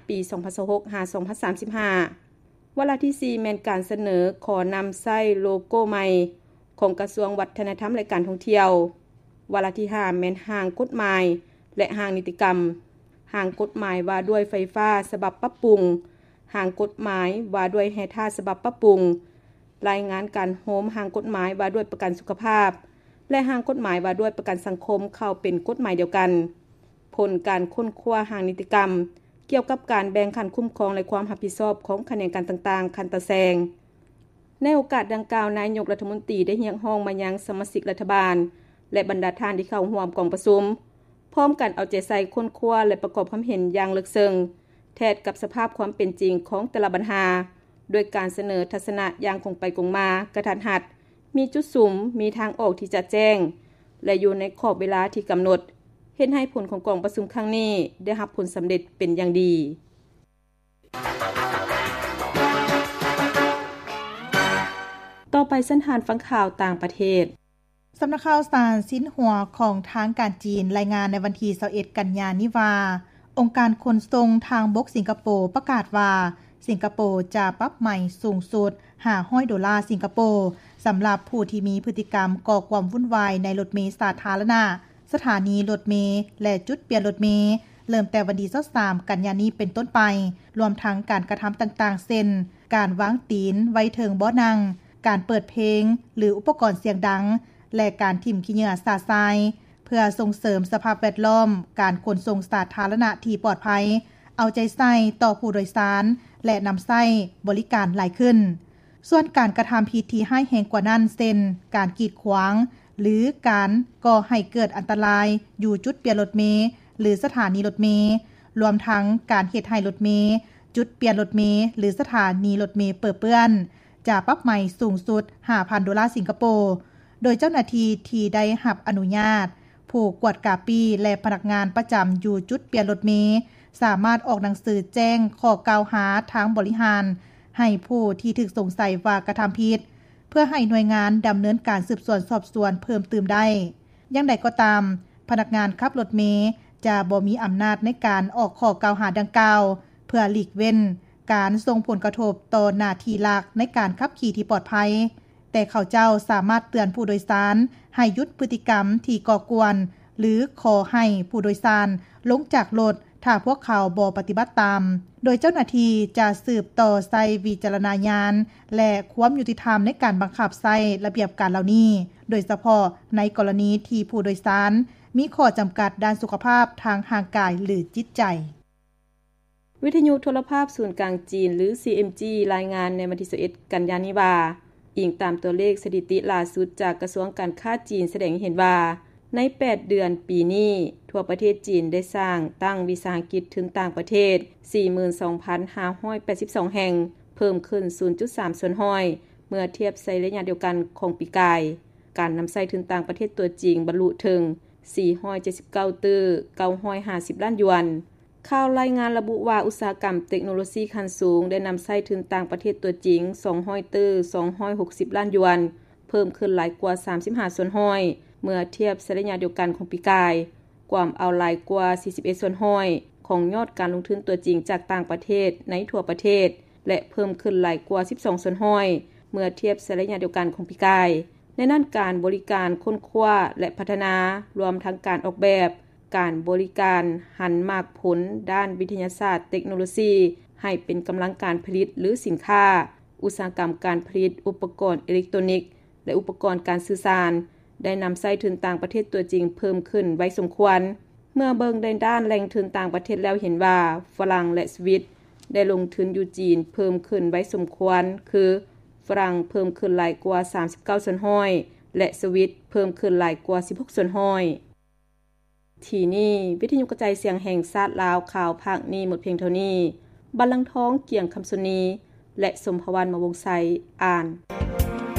ປີສອງພັນຊາວຫົກ ຫາ ສອງພັນສາມສິບຫ້າ. ວາລະທີສີ່ ແມ່ນການສະເໜີຂໍນຳໃຊ້ໂລໂກ້ໃໝ່ຂອງກະຊວງວັດທະນະທຳ ແລະ ການທ່ອງທ່ຽວ. ວາລະທີຫ້າ ແມ່ນຮ່າງກົດໝາຍ ແລະ ຮ່າງນິຕິກຳ, ຮ່າງກົດໝາຍວ່າດ້ວຍໄຟຟ້າສະບັບປັບປຸງ, ຮ່າງກົດໝາຍວ່າດ້ວຍແຮ່ທາດສະບັບປັບປຸງ, ລາຍງານການໂຮມຮ່າງກົດໝາຍວ່າດ້ວຍປະກັນສຸຂະພາບ ແລະ ຮ່າງກົດໝາຍວ່າດ້ວຍປະກັນສັງຄົມເຂົ້າເປັນກົດໝາຍດຽວກັນ. ຜົນການຄົ້ນຄວ້າຮ່າງນິຕິກຳກ່ຽວກັບການແບ່ງຂັ້ນຄຸ້ມຄອງ ແລະ ຄວາມຮັບຜິດຊອບຂອງຂະແໜງການຕ່າງໆ ຂັ້ນຕາແສງ. ໃນໂອກາດດັ່ງກ່າວ, ນາຍົກລັດຖະມົນຕີໄດ້ຮຽກຮ້ອງມາຍັງສະມາຊິກລັດຖະບານ ແລະ ບັນດາທ່ານທີ່ເຂົ້າຮ່ວມກອງປະຊຸມ ພ້ອມກັນເອົາໃຈໃສ່ຄົ້ນຄວ້າ ແລະ ປະກອບຄວາມເຫັນຢ່າງເລິກເຊິ່ງ ແທດກັບສະພາບຄວາມເປັນຈິງຂອງແຕ່ລະບັນຫາ, ດ້ວຍການສະເໜີທັດສະນະຢ່າງກົງໄປກົງມາ, ກະທັດຮັດ, ມີຈຸດສຸມ, ມີທາງອອກທີ່ຈະແຈ້ງ ແລະ ຢູ່ໃນຂອບເວລາທີ່ກຳນົດ, ເຮັດໃຫ້ຜົນຂອງກອງປະຊຸມຄັ້ງນີ້ໄດ້ຮັບຜົນສຳເລັດເປັນຢ່າງດີ. ຕໍ່ໄປເຊີນທ່ານຟັງຂ່າວຕ່າງປະເທດ. ສຳນັກຂ່າວສານຊິນຫົວຂອງທາງການຈີນລາຍງານໃນວັນທີຊາວເອັດ ກັນຍານີ້ວ່າ ອົງການຂົນສົ່ງທາງບົກສິງກະໂປປະກາດວ່າ ສິງກະໂປຈະປັບໃໝສູງສຸດຫ້າຮ້ອຍໂດລາສິງກະໂປ ສຳລັບຜູ້ທີ່ມີພຶດຕິກຳກໍ່ຄວາມວຸ່ນວາຍໃນລົດເມສາທາລະນະ, ສະຖານີລົດເມ ແລະ ຈຸດປ່ຽນລົດເມ ເລີ່ມແຕ່ວັນທີຊາວສາມ ກັນຍານີ້ເປັນຕົ້ນໄປ, ລວມທັງການກະທຳຕ່າງໆ ເຊັ່ນ ການວາງຕີນໄວ້ເທິງເບາະນັ່ງ, ການເປີດເພງ ຫຼື ອຸປະກອນສຽງດັງ ແລະ ການຖິ້ມຂີ້ເຫຍື້ອຊະຊາຍ ເພື່ອສົ່ງເສີມສະພາບແວດລ້ອມການຂົນສົ່ງສາທາລະນະທີ່ປອດໄພ, ເອົາໃຈໃສ່ຕໍ່ຜູ້ໂດຍສານ ແລະ ນຳໃຊ້ບໍລິການຫຼາຍຂຶ້ນ. ສ່ວນການກະທຳຜິດທີ່ຮ້າຍແຮງກວ່ານັ້ນ ເຊັ່ນ ການກີດຂວາງ ຫຼື ການກໍ່ໃຫ້ເກີດອັນຕະລາຍຢູ່ຈຸດປ່ຽນລົດເມ ຫຼື ສະຖານີລົດເມ, ລວມທັງການເຮັດໃຫ້ລົດເມ, ຈຸດປ່ຽນລົດເມ ຫຼື ສະຖານີລົດເມເປິເປື້ອນ, ຈະປັບໃໝສູງສຸດຫ້າພັນໂດລາສິງກະໂປ. ໂດຍເຈົ້າໜ້າທີ່ທີ່ໄດ້ຮັບອະນຸຍາດ, ຜູ້ກວດກາປີ້ ແລະ ພະນັກງານປະຈຳຢູ່ຈຸດປ່ຽນລົດເມ ສາມາດອອກໜັງສືແຈ້ງຂໍ້ກ່າວຫາທາງບໍລິຫານ ໃຫ້ຜູ້ທີ່ຖືກສົງໄສວ່າກະທຳຜິດ, ເພື່ອໃຫ້ໜ່ວຍງານດຳເນີນການສືບສວນສອບສວນເພີ່ມຕື່ມໄດ້. ຢ່າງໃດກໍຕາມ, ພະນັກງານຂັບລົດເມຈະບໍ່ມີອຳນາດໃນການອອກຂໍ້ກ່າວຫາດັ່ງກ່າວ ເພື່ອຫຼີກເວັ້ນການສົ່ງຜົນກະທົບຕໍ່ໜ້າທີ່ຫຼັກໃນການຂັບຂີ່ທີ່ປອດໄພ, ແຕ່ເຂົາເຈົ້າສາມາດເຕືອນຜູ້ໂດຍສານໃຫ້ຢຸດພຶດຕິກຳທີ່ກໍ່ກວນ ຫຼື ຂໍໃຫ້ຜູ້ໂດຍສານລົງຈາກລົດ ຖ້າພວກເຂົາບໍ່ປະຕິບັດຕາມ, ໂດຍເຈົ້າໜ້າທີ່ຈະສືບຕໍ່ໃຊ້ວິຈາລະນະຍານ ແລະ ຄວາມຍຸຕິທຳໃນການບັງຄັບໃຊ້ລະບຽບການເຫຼົ່ານີ້, ໂດຍສະເພາະໃນກໍລະນີທີ່ຜູ້ໂດຍສານມີຂໍ້ຈຳກັດດ້ານສຸຂະພາບທາງຮ່າງກາຍ ຫຼື ຈິດໃຈ. ວິທະຍຸໂທລະພາບສູນກາງຈີນ ຫຼື ຊີເອັມຈີ ລາຍງານໃນວັນທີຊາວເອັດ ກັນຍານີ້ວ່າ, ອີງຕາມຕົວເລກສະຖິຕິຫຼ້າສຸດຈາກກະຊວງການຄ້າຈີນສະແດງໃຫ້ເຫັນວ່າ, ໃນແປດເດືອນປີນີ້, ທົ່ວປະເທດຈີນໄດ້ສ້າງຕັ້ງວິສາຫະກິດທຶນຕ່າງປະເທດ ສີ່ໝື່ນສອງພັນຫ້າຮ້ອຍແປດສິບສອງແຫ່ງ, ເພີ່ມຂຶ້ນສູນຈຸດສາມສ່ວນຮ້ອຍ ເມື່ອທຽບໃສ່ໄລຍະດຽວກັນຂອງປີກາຍ. ການນຳໃຊ້ທຶນຕ່າງປະເທດຕົວຈິງບັນລຸເຖິງ ສີ່ຮ້ອຍເຈັດສິບເກົ້າຕື້ ເກົ້າຮ້ອຍຫ້າສິບລ້ານຢວນ. ຂ່າວລາຍງານລະບຸວ່າ ອຸດສາຫະກຳເຕັກໂນໂລຊີຂັ້ນສູງໄດ້ນຳໃຊ້ທຶນຕ່າງປະເທດຕົວຈິງ ສອງຮ້ອຍຕື້ ສອງຮ້ອຍຫົກສິບລ້ານຢວນ, ເພີ່ມຂຶ້ນຫຼາຍກວ່າ ສາມສິບຫ້າສ່ວນຮ້ອຍ ເມື່ອທຽບໃສ່ໄລຍະດຽວກັນຂອງປີກາຍ, ກວມເອົາຫຼາຍກວ່າ ສີ່ສິບເອັດສ່ວນຮ້ອຍ ຂອງຍອດການລົງທຶນຕົວຈິງຈາກຕ່າງປະເທດໃນທົ່ວປະເທດ ແລະ ເພີ່ມຂຶ້ນຫຼາຍກວ່າ ສິບສອງສ່ວນຮ້ອຍ ເມື່ອທຽບໃສ່ໄລຍະດຽວກັນຂອງປີກາຍ. ໃນນັ້ນ, ການບໍລິການຄົ້ນຄວ້າ ແລະ ພັດທະນາ, ລວມທັງການອອກແບບ, ການບໍລິການຫັນໝາກຜົນດ້ານວິທະຍາສາດເຕັກໂນໂລຊີ ໃຫ້ເປັນກຳລັງການຜະລິດ ຫຼື ສິນຄ້າ, ອຸດສາຫະກຳການຜະລິດ, ອຸປະກອນເອເລັກໂຕນິກ ແລະ ອຸປະກອນການສື່ສານ ໄດ້ນຳໃຊ້ທຶນຕ່າງປະເທດຕົວຈິງເພີ່ມຂຶ້ນໄວສົມຄວນ. ເມື່ອເບິ່ງໃນດ້ານແຫຼ່ງທຶນຕ່າງປະເທດແລ້ວເຫັນວ່າ ຝຣັ່ງ ແລະ ສະວິດ ໄດ້ລົງທຶນຢູ່ຈີນເພີ່ມຂຶ້ນໄວສົມຄວນ ຄື ຝຣັ່ງເພີ່ມຂຶ້ນຫຼາຍກວ່າ ສາມສິບເກົ້າສ່ວນຮ້ອຍ ແລະ ສະວິດເພີ່ມຂຶ້ນຫຼາຍກວ່າ ສິບຫົກສ່ວນຮ້ອຍ. ທີ່ນີ້ ວິທະຍຸກະຈາຍສຽງແຫ່ງຊາດລາວ ຂ່າວພາກນີ້ໝົດພຽງເທົ່ານີ້. ບັນລັງທອງ ກຽງຄຳສຸນີ ແລະ ສົມພະວັນ ມະວົງໄຊ ອ່ານ.